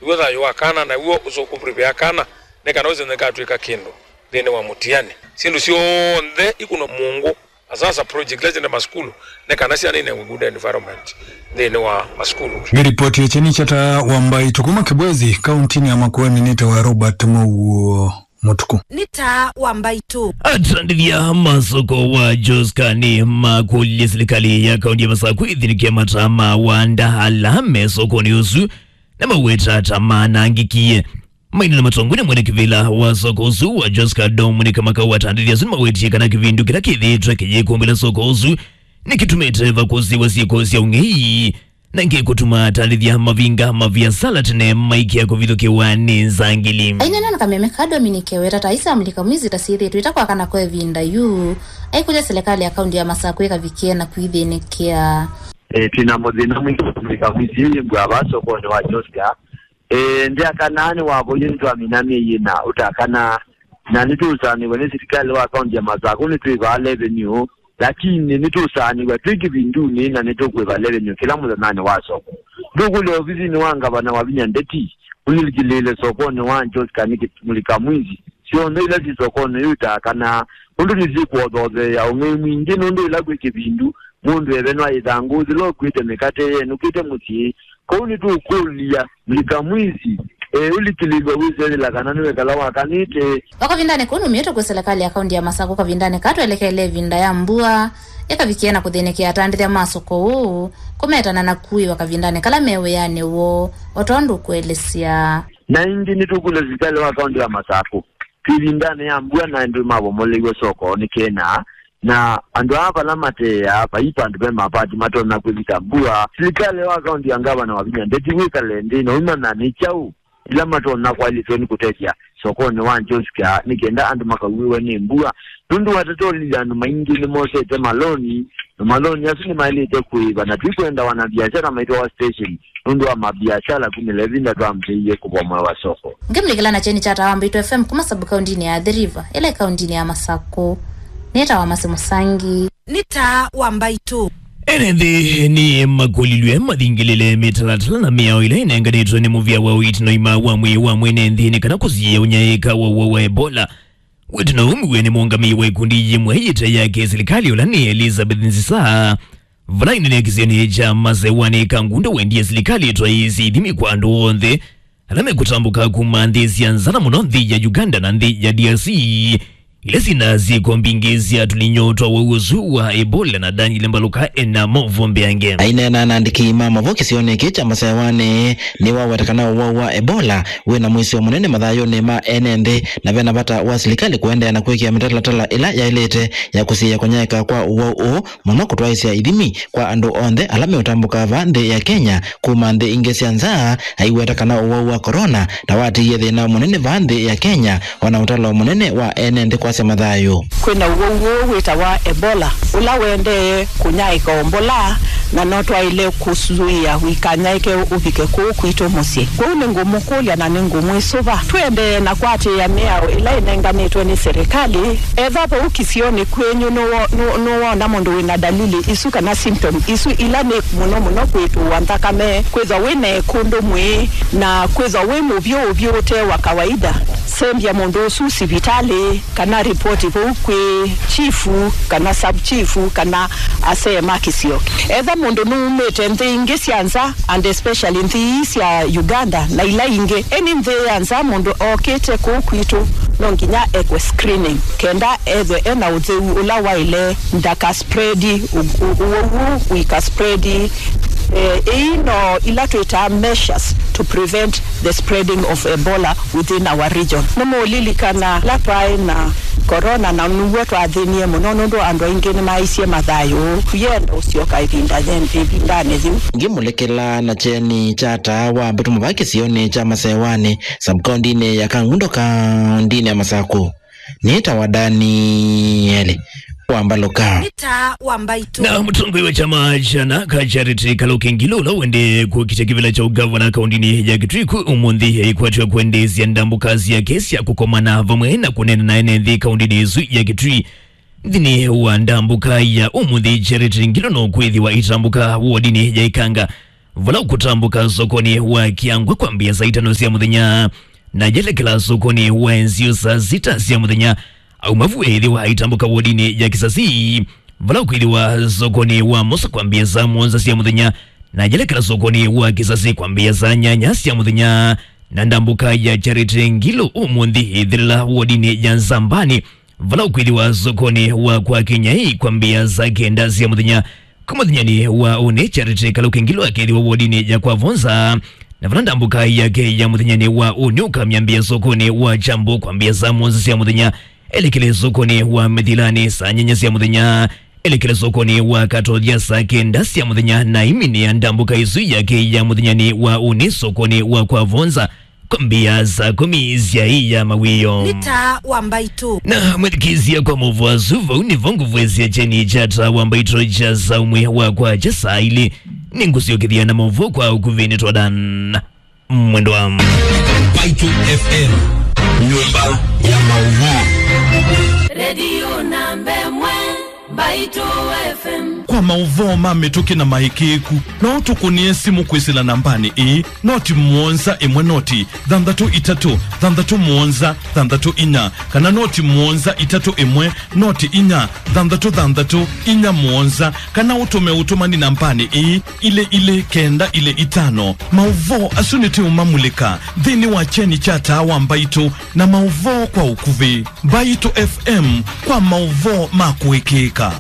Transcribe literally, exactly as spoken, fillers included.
W'o thayũ wa kana, na w'o ũsũkũ prepare kana, nĩ kana ũsĩ nĩkatw'ĩka kĩndũ nthĩnĩ wa mũtiani. Syĩndũ syonthe ikunwa mũngũ, asasa project ila syenda masukulu, nĩ kana syana inewe good environment nthĩnĩ wa masukulu. Nĩ ripoti ya Kyeni kya Taa wa Mbaitũ kuma Kibwezi, kauntinĩ ya Makueni, nĩ ta wa Robert Mowuo. Mũtuku. Nĩ Taa wa Mbaitũ. Atandĩthya masoko wa Joska nĩ makũlilye silikalĩ ya kaunti ya Masakũ ĩthĩnĩkĩe mataa ma wanda ala me sokonĩ ũsu, na maweta ta manangĩkie. Mainena matongoew'e nĩ mwene kĩvĩla wa soko ũsu wa Joska, Dominic Makau, atandĩthya asu nĩmawetie kana kĩvindu kĩla kĩthĩĩtwe kĩyĩkũmbĩla soko ũsu nĩkĩtumĩte vakũsĩwa syĩko sya ũng'ei. Na ĩngĩ kũtuma atandĩthya mavinga maviasala tene maikĩa kũvithũkĩwa nĩ nzangili. Ainena na kameme ka Dominic eweta ta isi amulika mwizi ta syĩthĩtwe itakwakana kwa ĩvinda yu, aikũlya silikalĩ ya kaunti ya Masakũ ĩkavikie na kwĩthĩnĩkĩa. E, twĩna mũthĩna mwingĩ wa amulika mwizi yu yĩmbwa va sokonĩ wa Joska. E, ndyakanaa nĩ wavoie nĩtwamina myei ĩna ũtakana, na nĩtũũsaanĩw'a nĩ silikalĩ wa kaunti ya Masakũ nĩtwĩvaa revenue. Lakini nĩtũũsaanĩw'a twĩ kĩvindunĩ na nĩtũkwĩva revenue kĩla mũthenyanĩ wa soko. Ndũkũlya ovisinĩ wa ngavana Wavinya Ndeti ũlikĩlĩĩle sokonĩ wa Joska nĩ kĩmulika mwizi. Syonthe ila syĩ sokonĩ yu itaa kana ũndũ nĩsyĩkũothootheea ũng'ei mwingĩ, nũndũ ĩla kwĩ kĩvindu mũndũ evenwa ĩthangũ yĩla ũkuĩte mĩkate yenũkĩte mũsyĩ. Kwoou nĩtũũkũlya mlika mwizi, e, ũlikĩlĩlw'a wĩsethĩla kana nĩwekala wakanĩte. O kavindanĩ kau numĩtwe kwĩ silikalĩ ya kaunti ya Masakũ kavindanĩ kaa twelekele ĩvinda ya mbua ĩkavikie na kũthĩnĩkĩa atandĩthya ma soko ũũ kũmetana na kuĩwa kavindanĩ kala me wĩanĩ woo, o tondũ ũkũelesya. Na ĩngĩ nĩtũkũlya silikalĩ wa kaunti ya Masakũ twĩ ĩvindanĩ ya mbua na andũ mabomoleiwe soko nĩ kena. Na andũ aa vala mateea vai vandũ ve mavati matonya kwĩvika mbua, silikalĩ wa kaunti ya ngavana Wavinya Ndeti wĩkale nthĩ na ũimanya nĩ kyaũ ila matonya kwaĩlĩtwe nĩ kũtethya sokonĩ wa Joska nĩ kenda andũ makauĩwe nĩ mbua. Nũndũ watatolilye andũ maingĩ nĩmosete maloni, na maloni asu nĩmaĩlĩte kũĩva, na tũikwenda wanabiashara maitũ wa station nũndũ wa mabiashara kumĩla ĩvinda twambĩĩie kũvomoewa soko. Ngĩmũlikĩla na kyeni kya Taa wa Mbaitũ F M kuma sub-kauntinĩ ya Athi River, ĩla ĩ kauntinĩ ya Masakũ. Nĩ Taa wa Masi Mũsangi. Nĩ Taa wa Mbaitũ. Ene nthĩ nĩ makũlilw'e mathingĩlĩle mĩtalatala na mĩao ĩla ĩnenganĩtwe nĩ mũvĩa wa ũiiti na ũima wa mwĩĩ wa mwene nthĩ nĩ kana kũsiĩĩa ũnyaĩĩka wa ũwau wa Ebola. Wĩtano ũmwe nĩ mũũngamĩi wa ikundi yĩmwe yĩte ya kĩsilikalĩ ũla nĩ Elizabeth Nzisa, vala ĩnene kĩsionĩ kya Masewanĩ Kangundo wendie silikalĩ ĩtwaĩĩsye ithimi kwa andũ onthe ala mekũtambũka kuma nthĩ sya nza na mũno nthĩ ya Uganda na nthĩ ya D R C, ila syĩna syĩko mbingĩ sya tũlinyo twa ũwau ũsu wa Ebola. Na Daniel Mbaluka ena maũvoo mbeange. Aineena na andĩki ma mavoo kĩsionĩ kĩĩ kya Masewanĩ, nĩwaweta kana ũwau wa Ebola wĩna mũisyo mũnene mathayũnĩ ma ene nthĩ, na vena vata wa silikalĩ kũendeea na kwĩkĩa mĩtalatala ĩla yaĩlĩte ya kũsiĩĩa kũnyaĩĩka kwa ũwau ũũ, mũno kũtwaĩĩsya ithimi kwa andũ onthe ala meũtambũka vaa nthĩ ya Kenya kuma nthĩ ingĩ sya nza, aiweta kana ũwau wa corona ta watiie thĩna mũnene vaa nthĩ ya Kenya, o na ũtalo mũnene wa ene nthĩ kwasya mathayũ. Kwĩna ũwau ũũ wĩtawa Ebola, ũla wendee kũnyaĩĩka o mbola, na no twaĩle kũsũĩa ũikanyaĩke ũvike kũũ kwitũ mũsyĩ. Kwoou nĩngũmũkũlya na nĩngũmwĩsũva, tũendee na kwatĩĩa mĩao ĩla ĩnenganĩtwe nĩ serĩkalĩ. Etha vau kĩsionĩ kwenyu nũwo-, nũ-, nũwoona mũndũ wĩna dalili isu kana symptom isu ila nĩ mũno mũno kwĩtũũa nthakame, kwĩthwa wĩna ĩkũndũ mwĩĩ, na kwĩthwa wĩ mũvyũ ũvyũ ũte wa kawaida, sembya mũndũ ũsu sivitalĩ, kana ripoti vau kwĩ chifu kana sub chifu kana asee ma kĩsio. Etha mũndũ nũumĩte nthĩ ingĩ sya nza, and especially nthĩ ii sya Uganda na ila ingĩ, eni nthĩ ya nza mũndũ okĩte kũu kwitũ, no nginya ekwe screening kenda ethwe ena ũtheu ũla waĩle, ndakaspreadi ũ-, ũ-, ũwau ũũ ũikaspreadi. Eh, ii no ila twĩtaa measures to prevent the spreading of Ebola within our region. Nĩmũũlilikana la twaĩ na corona, na nĩw'o twathĩnie mũno nũndũ andũ aingĩ nĩmaisye mathayũ. Tũyenda ũsyoka ĩvinda yen-, ĩvindanĩ yĩu. Ngĩmũlekela na kyeni kya Taa wa Mbaitũ vaa kĩsionĩ kya Masewanĩ, sub-kauntinĩ ya Kangundo, kauntinĩ ya Masakũ. Nĩ Taa wa Danieli wa Mbaluka. Nĩ Taa wa Mbaitũ. Na mũtongoi wa kyama kya Narc Charity Kaluki Ngilu, ũla wendee kũkitya kĩvĩla kya ũgavana kauntinĩ ya Kitui, kũ ũmũnthĩ aikwatw'a kwendeesya ndambũka syake sya kũkomana vamwe na kũneena na ene nthĩ kauntinĩ ĩsu ya Kitui. Nthĩnĩ wa ndambũka ya ũmũnthĩ, Charity Ngilu no kwĩthĩwa aitambũka wodinĩ ya Ikanga, vala ũkũtambũka sokonĩ wa Kĩangwa kwambĩa saa itano sya mũthenya, na yelekela sokonĩ wa Enzio saa sita sya mũthenya. Aumavu ethĩwa aitambũka wodinĩ ya Kisasi, vala ũkwĩthĩwa sokonĩ wa Mosa kwambĩa saa mũonza sya mũthenya, na yelekela sokonĩ wa Kisasi kwambĩa saa nyanya sya mũthenya. Na ndambũka ya Charity Ngilu ũmũnthĩ ĩthĩlĩla wodinĩ ya Nzambani, vala ũkwĩthĩwa sokonĩ wa kwa Kenyai kwambĩa saa kenda sya mũthenya. Kwa mũthenyanĩ wa ũnĩ, Charity Kaluki Ngilu akethĩwa wodinĩ ya kwa Vonza, na vala ndambũka yake ya mũthenyanĩ wa ũnĩ ũkamyambĩa sokonĩ wa Kyambu kwambĩa saa mũonza sya mũthenya, elekele sokonĩ wa Mĩthilani saa nyanya sya mũthenya, elekele sokonĩ wa Katothya saa kenda sya mũthenya, na iminĩa ndambũka ĩsu yake ya mũthenyanĩ wa ũnĩ sokonĩ wa kwa Vonza kwambĩa saa kũmi sya ĩ ya mawĩo. Nĩ Taa wa Mbaitũ. Na mwĩthikĩĩsya, kwa maũvoo asu, vau nĩvo ngũvwesya kyeni kya Taa wa Mbaitũ kya saa ũmwe wa kwakya saa ilĩ. Nĩngũsyokethya na maũvoo kwa ũkuvĩ. Nĩtwadan Mwendwa. Mbaitũ F M, nyũmba ya maũvoo. Redio namba ĩmwe, Mbaitũ F M. Kwa maũvoo ma mĩtũkĩ na maĩkĩĩku, no ũtũkũnĩe simũ kwĩsĩla nambanĩ ĩĩ, noti mũonza ĩmwe noti thanthatũ itatũ thanthatũ mũonza thanthatũ inya, kana noti mũonza itatũ ĩmwe noti inya thanthatũ thanthatũ inya mũonza, kana ũtũme ũtũmani nambanĩ ĩĩ, ilĩ ilĩ kenda ilĩ itano. Maũvoo asu nĩtũũmamulĩka nthĩnĩ wa kyeni kya Taa wa Mbaitũ na maũvoo kwa ũkuvĩ. Mbaitũ F M, kwa maũvoo ma kũĩkĩĩka.